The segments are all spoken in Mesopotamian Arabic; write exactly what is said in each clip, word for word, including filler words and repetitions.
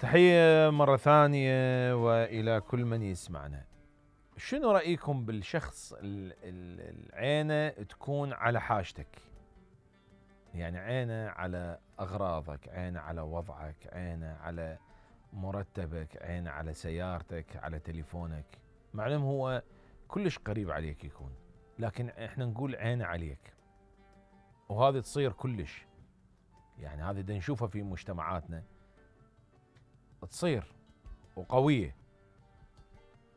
تحية مرة ثانية وإلى كل من يسمعنا. شنو رأيكم بالشخص العينه تكون على حاجتك؟ يعني عينه على أغراضك، عينه على وضعك، عينه على مرتبك، عينه على سيارتك، على تليفونك، معلوم هو كلش قريب عليك يكون، لكن احنا نقول عينه عليك، وهذه تصير كلش، يعني هذه دا نشوفها في مجتمعاتنا تصير وقوية،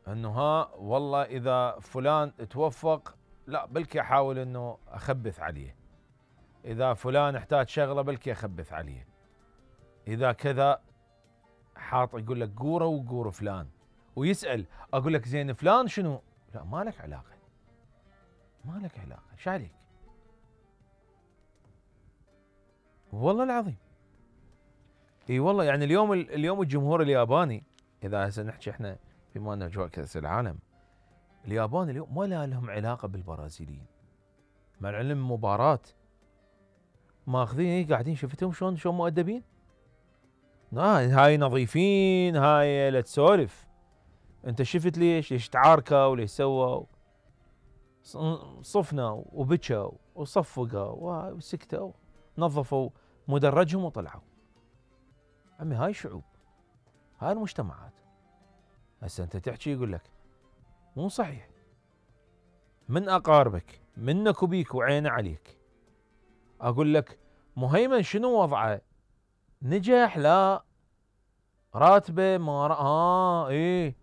انه ها والله اذا فلان توفق لا بلكي احاول انه اخبث عليه، اذا فلان احتاج شغله بلكي اخبث عليه، اذا كذا حاط يقول لك قوره وقور فلان، ويسال اقول لك زين فلان شنو؟ لا ما لك علاقه، ما لك علاقه، ايش عليك؟ والله العظيم. اي والله يعني اليوم اليوم الجمهور الياباني، اذا هسه نحكي احنا في مالنا اجواء كاس العالم، اليابان اليوم ما لهم علاقه بالبرازيليين، مع العلم مباراه ماخذين قاعدين شفتهم شلون شلون مؤدبين؟ آه هاي نظيفين، هاي لا تسولف، انت شفت ليش؟ ليش تعاركوا وليش سووا؟ صفنا وبكوا وصفقوا وسكتوا، نظفوا مدرجهم وطلعوا. عمي هاي شعوب، هاي المجتمعات. هسه انت تحكي يقول لك مو صحيح، من اقاربك منك وبيك وعينه عليك. اقول لك مهيمن شنو وضعه؟ نجح لا، راتبه ما ر... اه ايه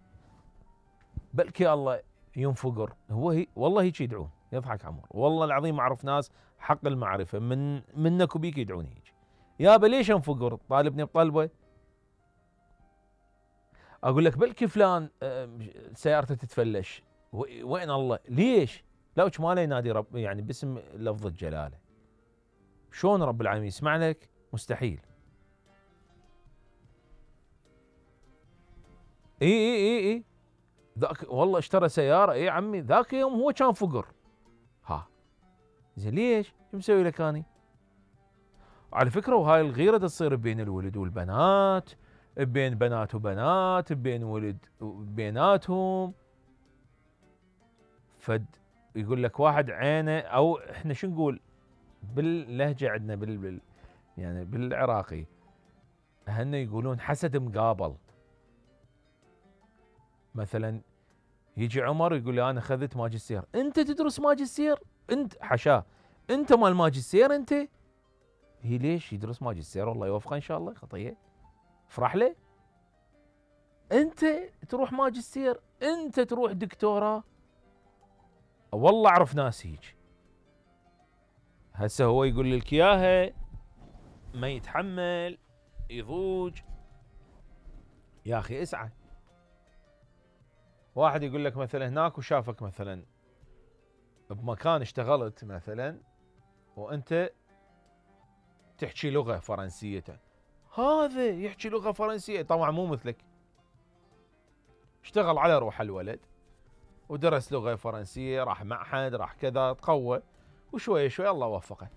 بلكي الله ينفقر، هو هي والله هيك يدعون، يضحك عمر، والله العظيم اعرف ناس حق المعرفه من منك وبيك يدعون هيك. يابا ليش انفقر؟ طالبني بطلبه؟ اقول لك بلكي فلان سيارته تتفلش، وين الله؟ ليش؟ لا ما له ينادي رب يعني باسم لفظ الجلاله. شلون رب العالمين يسمع لك؟ مستحيل. اي اي اي اي ذاك والله اشترى سياره، اي عمي ذاك يوم هو كان فقر. ها زين ليش؟ شو مسوي لك اني؟ على فكره وهاي الغيره تصير بين الولد والبنات، بين بنات وبنات، بين ولد وبيناتهم. فد يقول لك واحد عينه، او احنا شو نقول باللهجه عندنا بال, بال يعني بالعراقي هن يقولون حسد مقابل. مثلا يجي عمر يقول لي انا اخذت ماجستير، انت تدرس ماجستير؟ انت حشاه، انت مال ماجستير انت؟ هي ليش يدرس ماجستير؟ والله يوفقه ان شاء الله، خطيه افرح له. انت تروح ماجستير، انت تروح دكتوراه. والله اعرف ناس هيك. هسه هو يقول لك اياها ما يتحمل يضوج. يا اخي اسعى. واحد يقول لك مثلا هناك وشافك مثلا بمكان اشتغلت مثلا وانت تحكي لغه فرنسيه، هذا يحكي لغه فرنسيه طبعا مو مثلك، اشتغل على روح الولد ودرس لغه فرنسيه، راح معهد، راح كذا، تقوى، وشويه شويه الله وفقه.